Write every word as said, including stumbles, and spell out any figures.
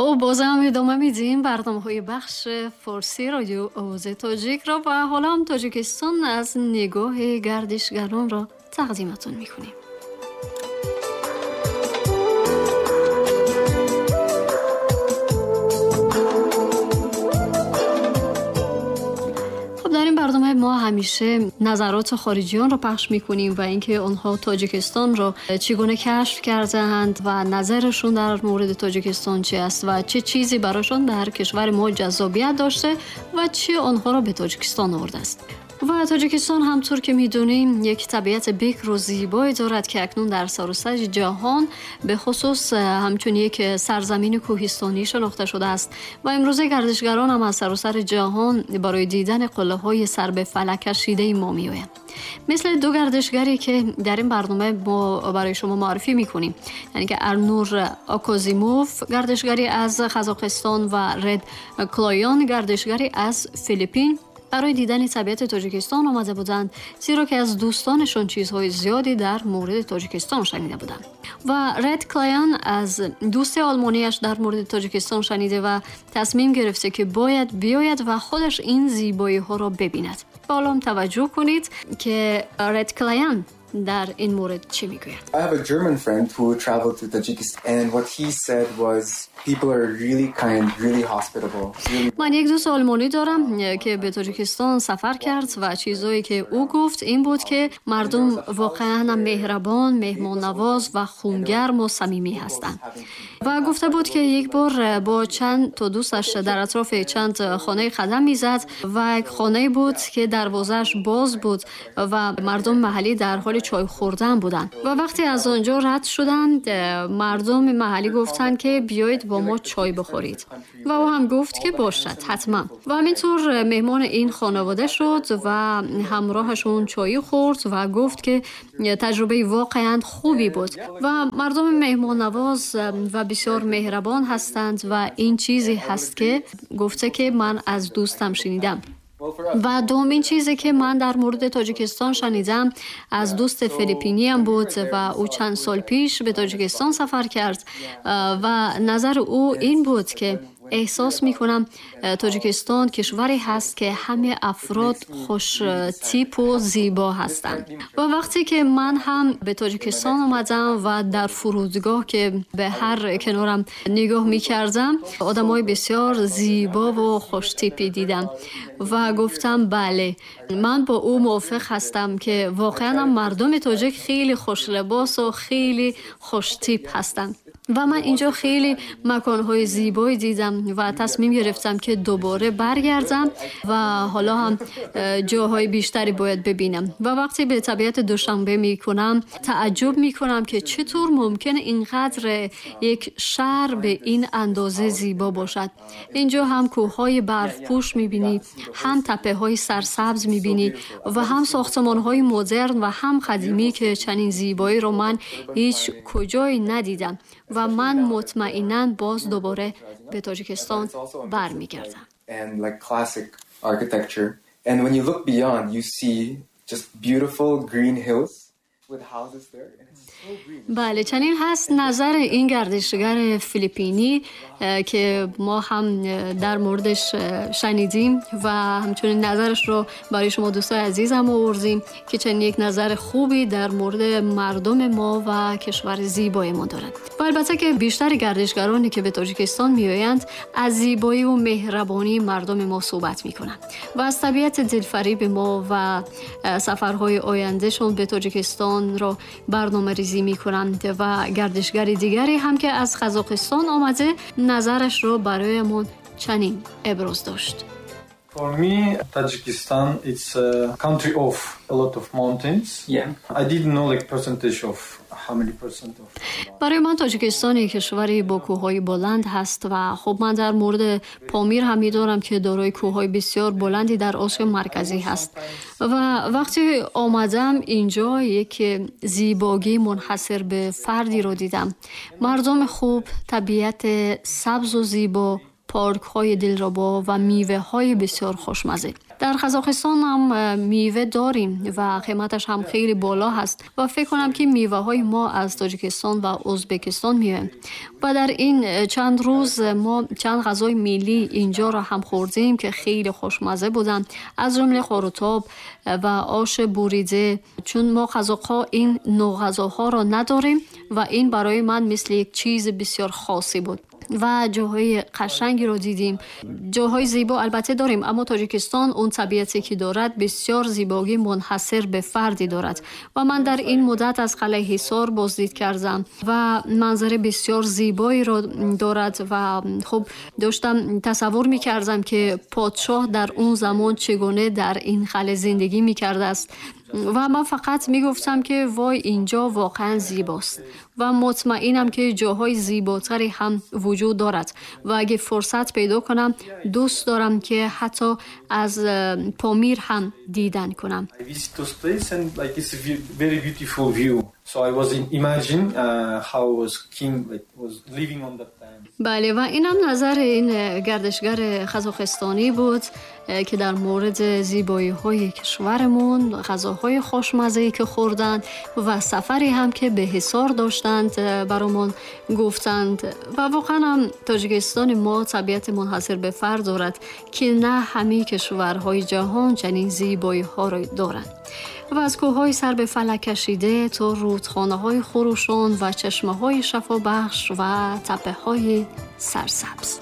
خب بازم ادامه میدیم برنامه های بخش فارسی رادیو آواز تاجیک را و حالا هم تاجیکستان از نگاه گردشگران را تقدیمتون میکنیم. برنامه ما همیشه نظرات خارجیان را پخش میکنیم و اینکه آنها تاجیکستان را چگونه کشف کردند و نظرشون در مورد تاجیکستان چه است و چه چیزی براشون در کشور ما جذابیت داشته و چه آنها را به تاجیکستان آورده است. و تاجیکستان همطور که میدونیم یک طبیعت بکر و زیبایی دارد که اکنون در سراسر جهان به خصوص همچون یک سرزمین کوهستانی شناخته شده است و امروزه گردشگران هم از سراسر جهان برای دیدن قله های سر به فلک کشیده ما میآیند. مثل دو گردشگری که در این برنامه ما برای شما معرفی میکنیم، یعنی که ارنور آکوزیموف گردشگری از قزاقستان و رد کلایان گردشگری از فیلیپین برای دیدن طبیعت تاجیکستان آمده بودند، زیرا که از دوستانشان چیزهای زیادی در مورد تاجیکستان شنیده بودند. و رد کلایان از دوست آلمانیش در مورد تاجیکستان شنیده و تصمیم گرفته که باید بیاید و خودش این زیبایی ها را ببیند. حالا توجه کنید که رد کلایان در این مورد چی میگوید. I have a German friend who traveled to Tajikistan and what he said was people are really kind, really hospitable. Really... من یک دوست آلمانی دارم که به تاجیکستان سفر کرد و چیزایی که او گفت این بود که مردم واقعا مهربان، مهمان نواز و خونگرم و صمیمی هستند. و گفته بود که یک بار با چند تا دوستش در اطراف چند خانه قدم میزد و یک خانه بود که دروازه‌اش باز بود و مردم محلی در حال چای خوردن بودند و وقتی از آنجا رد شدند مردم محلی گفتند که بیایید با ما چای بخورید و او هم گفت که باشد حتما و همینطور مهمان این خانواده شد و همراهشون چای خورد و گفت که تجربه واقعا خوبی بود و مردم مهمان نواز و بسیار مهربان هستند و این چیزی هست که گفته که من از دوستم شنیدم. و دومین چیزی که من در مورد تاجیکستان شنیدم از دوست فیلیپینیم بود و او چند سال پیش به تاجیکستان سفر کرد و نظر او این بود که احساس میکنم تاجیکستان کشوری هست که همه افراد خوش تیپ و زیبا هستند. و وقتی که من هم به تاجیکستان آمدم و در فرودگاه که به هر کنارم نگاه میکردم آدمای بسیار زیبا و خوش تیپی دیدم و گفتم بله من با او موافق هستم که واقعا مردم تاجیک خیلی خوش لباس و خیلی خوش تیپ هستند. و من اینجا خیلی مکان‌های زیبایی دیدم و تصمیم گرفتم که دوباره برگردم و حالا هم جاهای بیشتری باید ببینم. و وقتی به طبیعت دوشنبه میکنم تعجب میکنم که چطور ممکنه اینقدر یک شهر به این اندازه زیبا باشد. اینجا هم کوه‌های برفپوش میبینی، هم تپه‌های سرسبز میبینی و هم ساختمان‌های مدرن و هم قدیمی که چنین زیبایی رو من هیچ کجایی ندیدم و من مطمئناً باز دوباره به تاجیکستان برمیگردم. And like classic architecture. And when you look beyond, you see just beautiful green hills with houses there. And it's so green. بله چنین هست نظر این گردشگر فیلیپینی که ما هم در موردش شنیدیم و همچنین نظرش رو برای شما دوستای عزیزم آوردیم که چنین یک نظر خوبی در مورد مردم ما و کشور زیبای ما دارد. و البته که بیشتر گردشگرانی که به تاجیکستان میآیند از زیبایی و مهربانی مردم ما صحبت میکنند و از طبیعت دلفریب ما و سفرهای آیندهشون به تاجیکستان را برنامه ریزی میکنند. و گردشگر دیگری هم که از قزاقستان آمده نظرش را برایمان چنین ابراز داشت. For me, Tajikistan, it's a country of a lot of mountains. Yeah. I didn't know like percentage of how many percent of. برای من تاجیکستان یک کشوری با کوه‌های بلند هست و خب من در مورد پامیر هم می‌دانم که دارای کوه‌های بسیار بلندی در آسیای مرکزی هست و وقتی آمدم اینجا یک زیبایی منحصر به فردی رو دیدم. مردم خوب، طبیعت سبز و زیبا، پارک های دلربا و میوه های بسیار خوشمزه. در قزاقستان هم میوه داریم و قیمتش هم خیلی بالا هست و فکر کنم که میوه های ما از تاجیکستان و ازبکستان میه. و در این چند روز ما چند غذای ملی اینجا را هم خوردیم که خیلی خوشمزه بودن، از جمله قروتاب و آش بریده، چون ما قزاق‌ها این نوع غذاها را نداریم و این برای من مثل یک چیز بسیار خاصی بود. و جاهای قشنگی رو دیدیم، جاهای زیبا البته داریم، اما تاجیکستان اون طبیعتی که دارد بسیار زیبایی منحصر به فردی دارد و من در این مدت از قلعه حصار بازدید کردم و منظره بسیار زیبایی رو دارد و خب داشتم تصور می‌کردم که پادشاه در اون زمان چگونه در این قلعه زندگی می‌کرده است و من فقط میگفتم که وای اینجا واقعا زیباست و مطمئنم که جاهای زیباتری هم وجود دارد و اگه فرصت پیدا کنم دوست دارم که حتی از پامیر هم دیدن کنم. I visit those place and like it's a very beautiful view. So I was imagine uh, how was king like was living on that time. بله، و اینم نظر این گردشگر قزاقستانی بود که در مورد زیبایی‌های کشورمون، غذاهای خوشمزه‌ای که خوردند و سفری هم که به حصار داشتند برامون گفتند. و واقعا هم تاجیکستان ما طبیعت منحصر به فرد دارد که نه همه کشورهای جهان چنین زیبایی‌ها را دارند. و از کوه‌های سر به فلک کشیده تا رودخانه‌های خروشان و چشمه‌های شفابخش و تپه‌های سرسبز.